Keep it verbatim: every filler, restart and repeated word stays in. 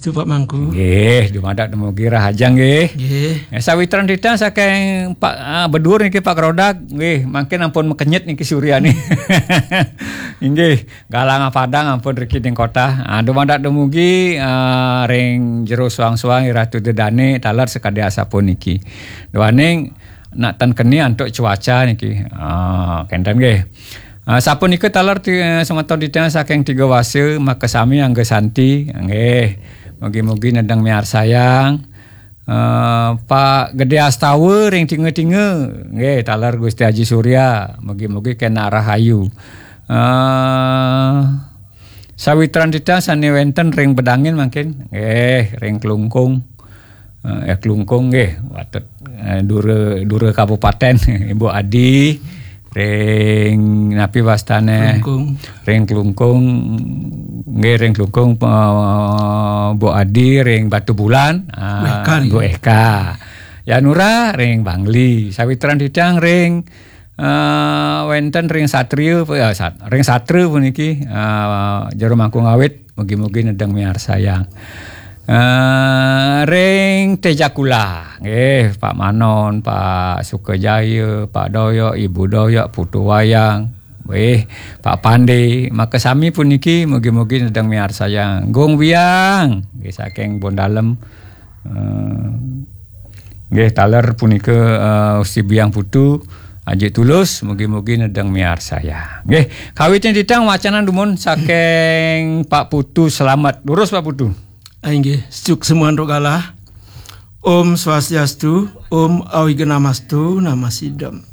Supak Mangku. Nggih, dumadak dumugi rahajeng nggih. Nggih. Ya, sawitran titah saking Pak, ah, bedur niki Pak Krodak, nggih, mangkin ampun makenyit niki surya nih. Inggih, galang padang ampun riki ning kota. Ah, dumadak dumugi, ah, ring jero suang-suang Ratu Dedane taler sakadi asapuniki. Duaning nak ten keni antuk cuaca niki. Ah, kenten nggih. Ah, sapunika taler ti-, semeton titah saking Tiga Wasa, makasami angga santi. Nggih. Mugi-mugi nedeng miarsayang. Ah, Pak Gede Astawa ring Tinga-tinga. Nggih, taler Gusti Haji Surya. Mugi-mugi kena rahayu. Ah, sawitran titah sane wenten ring Bedangin mangkin. Nggih, ring Klungkung. Eh, eh, Klungkung nggih, watet, eh, Dura, Dura Kabupaten, Ibu Adi, ring napi wastane? Klungkung. Ring Klungkung, nggih, ring Klungkung, eh, Bu Adi, ring Batu Bulan, ah, Bu Eka nggih. Bu Eka. Yanura, ring Bangli. Sawitran titah ring, eh, wenten ring Satria, ya, Sat-, ring Satra puniki, eh, jero Mangku Ngawit. Mugi-mugi nedeng miarsayang. Eh, ring Tejakula, nggih, Pak Manon, Pak Sukajaya, Pak Doyok, Ibu Doyok, Putu Wayang, nggih, Pak Pande, makasami puniki mugi-mugi nedeng miarsayang. Gung Biang, nggih, saking Bondalem. Eh, nggih, taler punika, eh, Gusti Biang Putu, Aji Tulus, mugi-mugi nedeng miarsayang. Nggih, kawitin titah wacanan dumun saking Pak Putu Slamet. Durus Pak Putu. Ah, inggih, suksma antuk galah. Om Swastiastu, Om Awighnamastu, Namasidam.